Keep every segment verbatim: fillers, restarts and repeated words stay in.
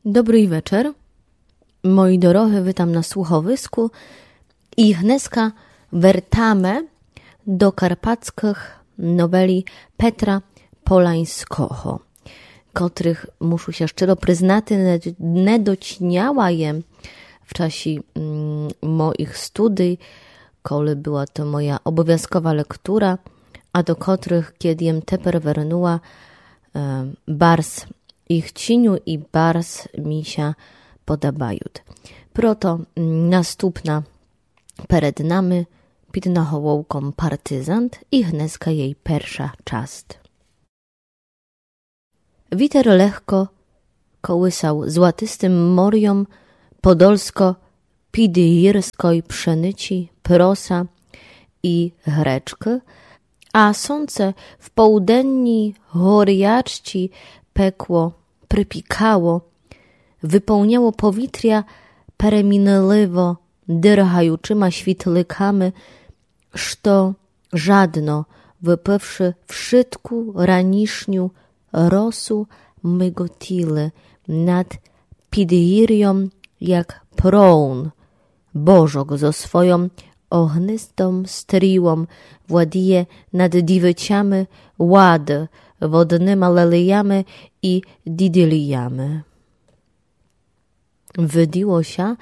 Добрый вечер. Мої дорогы, вітам на слуховиску. І гнеска вертаме до карпатскых новелі Петра Поланьского, котрых, мушу ся щыро признати, не, не дочиняла єм в часі, м, моїх студий, коли была то моя обовязкова лектура, а до котрых, кєд єм тепер вернула, е, барз їх ціню і барз мі ся подабают. Прото, м, наступна перед нами під наголовком Партизант і гнеска єй перша част. Вітер легко колысал златистым морьом подольско-підгірской пшеничі, проса і гречкы, а сонце в полуденній горячці пекло, припікало, выполняло повітря перемінливо дыргаючыма світликами, што жадно выпивши вшытку ранішню росу, миготіли над підгірьом, як проун божок зо свойом огнистом стрілом владіє над дівичами лад, водныма лелиями і дідилиями. Виділо ся,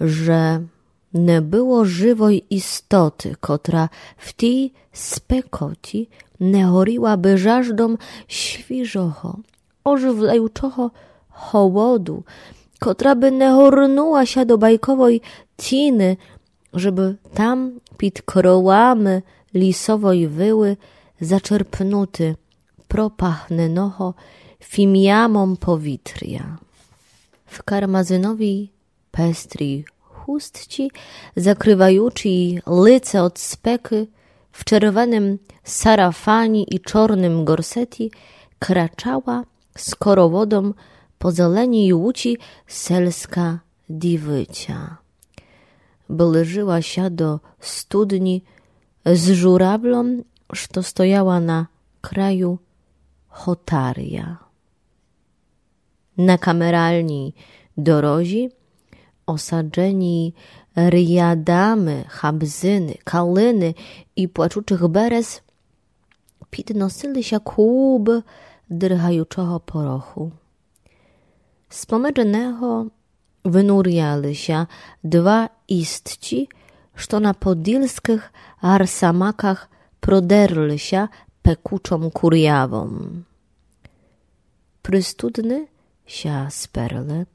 же не было живой істоты, котра в тій спекоті не горіла бы жаждом свіжого, оживляючого холоду, котра бы не горнула ся до байковой тіны, жебы там під крылами лісовой вылы зачерпнути пропахненого фіміямом повітря. В кармазиновій пестрій хустці, закрываючій лице од спекы, в червеным сарафані і чорным горсеті, крачала скороводом по зеленій луці сельска дівиця. Ближыла ся до студні з журавлом, што стояла на краю хотаря. На камеральній дорозі, осадженій рядами хабзины, калины і плачучых берез, підносили ся клубы дыргаючого пороху. З помедж него вынуряли ся два істці, што на подільскых гарсамаках продерли ся пекучом курявом. Пристудны ся сперли,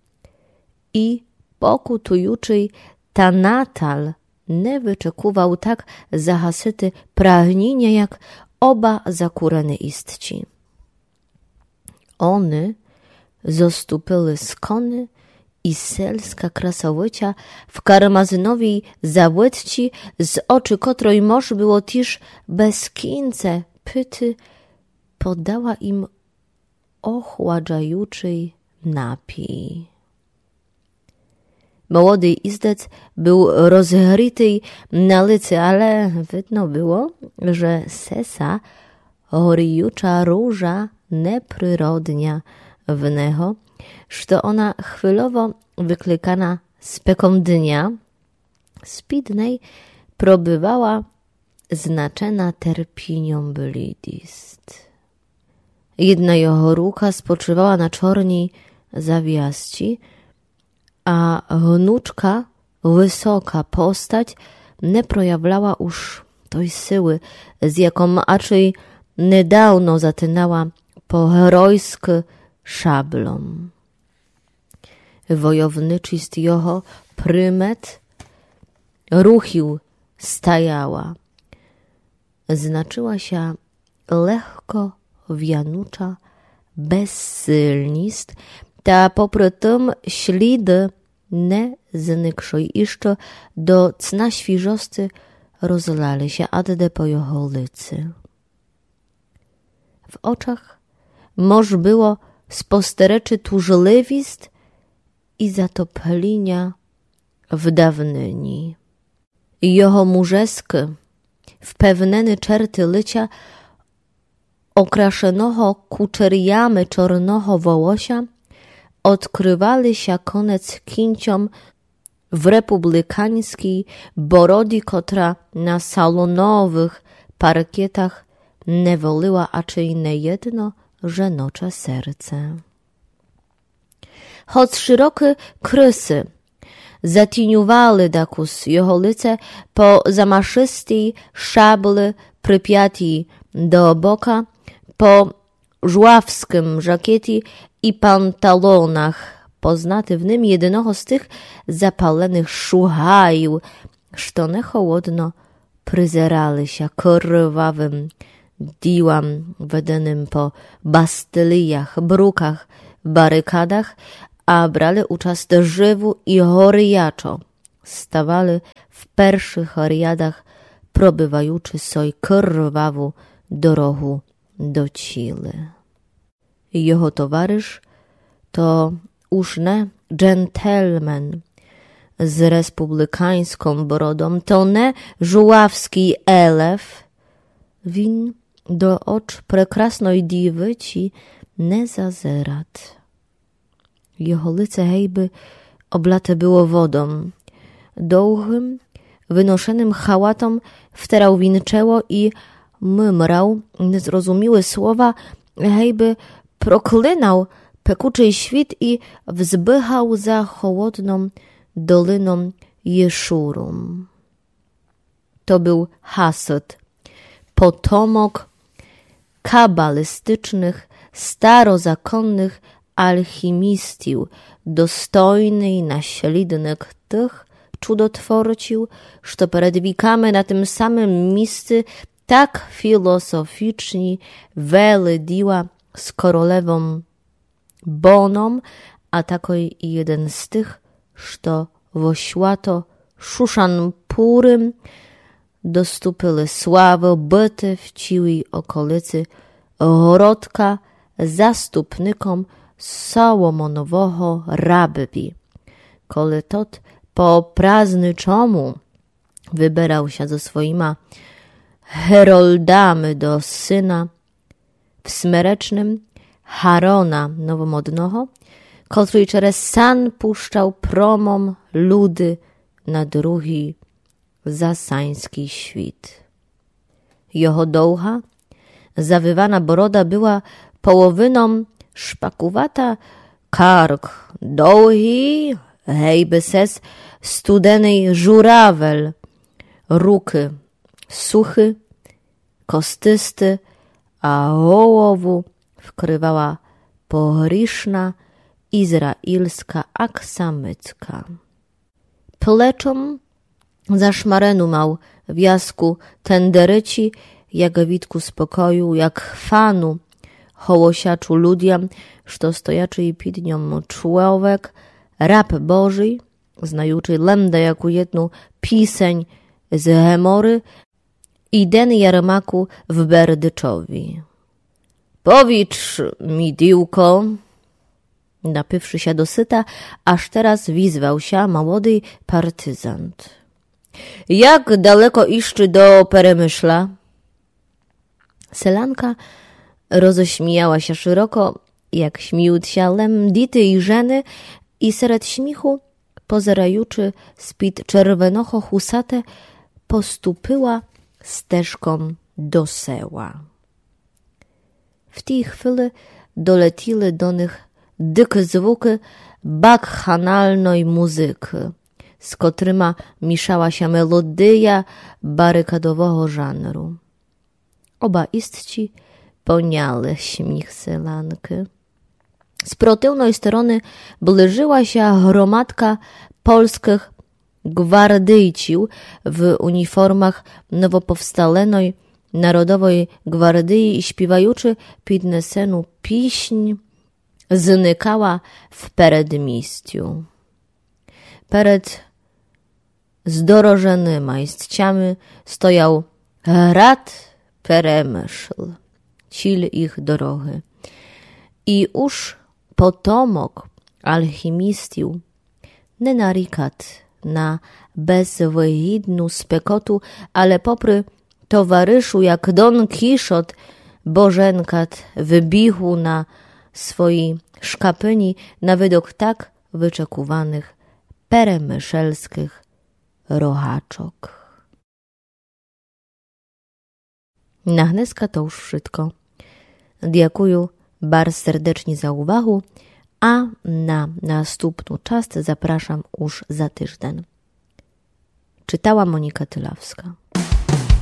і покутуючый танатал не вычекувал так загасити прагніня, як оба закурены істці. Они зоступили сконы, і сельска красовиця в кармазиновій заводці, з очы котрой мож было тіж без кінця пити, подала ім охладжаючый напій. Молодый іздец был розгрітый на лици, але видно было, же сеса горіюча ружа не природня в него, што она хвильово выкликана спеком дня, з-під ней пробывала значена терпіньом блідіст. Єдна його рука спочывала на чорній завязці, а гнучка, высока постать не проявляла уж той силы, з яком ачей недавно затинала по геройскы шаблом. Войовничіст його примет, рухів стаяла. Значыла ся легко вянуча безсильніст, та попри тым сліды не зникшой іщы до цна свіжости розлали ся адде по його лици. В очах мож было спостеречы тужливіст і затопліня в давнині. Його мужескы, впевнены черты лиця, окрашеного кучерями чорного волося, одкрывали ся конец кінцьом в републиканьскій бороді, котра на салоновых паркетах не волила ачей не єдно женоче серце. Хоц шырокы крысы затінювали дакус його лице, по замашыстій шаблі припятій до бока, по жуавскым жакеті і панталонах, познати в ним єдиного з тых запаленых шугаїв, што не холодно призерали ся кырвавым ділам, веденым по бастиліях, бруках, барикадах, а брали участ живу і горячо ставали в першых рядах, пробиваючы сой кырваву дорогу до цілі. Його товариш то уж не джентльмен з республиканьском бородом, то не жуавскій елеф. Він до оч прекрасной дівиці не зазират. Його лице гейбы облате было водом. Довгым, выношеным халатом втирал він чело і мымрал незрозумілы слова, гейбы проклинал пекучий світ і взбыгал за холодном долином Єшуру. То был Хасид, потомок кабалістичных, старозаконных алхімістів, достойный наслідник тых чудотворців, што перед віками на тым самым місци так філософічні вели діла з королевом Боном, а такой і єден з тых, што во свято Шушанпуры доступили славы быти в цілій околици городка заступником Соломонового раббі, коли тот по празничому выбирал ся зо своїма геролдами до сына в смеречным Гарона новомодного, котрый через сан пущал промом люды на другій за саньскій світ. Його довга, завивана борода была половином шпакувата, карк довгій, гейбы сес студеный журавель, рукы сухы, костысты, а голову вкрывала погрішна ізраїльска аксамицка. Плечом зашмарену мал вязку тендерицї, як вітку спокою, як фану, голосячу людям, што стоячий під ньом чловек, раб Божий, знаючий лем даяку єдну пісень з Геморы, і ден ярмаку в Бердичові. Повідж мі, дівко, напивши ся досыта, аж тераз візвал ся молодий партизант. Як далеко іщы до Перемышля? Селянка розосміяла ся шыроко, як сміют ся лем діти і жены, і серед сміху, позераючы з-під червеного хусата, поступила стежком до села. В тій хвили долетіли до них дикы звукы бакханалной музыкы, з котрыма мішала ся мелодия барикадового жанру. Оба істцї поняли сміх селянкы. З противной стороны ближыла ся громадка польскых гвардийців в уніформах новоповсталеной Народовой гвардиі і, співаючы піднесену піснь, зникала в передмістю. Перед здороженыма істцями стоял град Перемышл, ціль їх дорогы. І уж потомок алхімістів не нарікат на безвыгідну спекоту, але попри товаришу, як Дон Кішот, боженкат в бігу на свої шкапыні на выдок так вычекуваных перемышльскых рогачок. На гнеска то уж вшытко. Дякую барз сердечні за увагу, а на наступну част запрашам уж за тыжден. Читала Моніка Тылавска.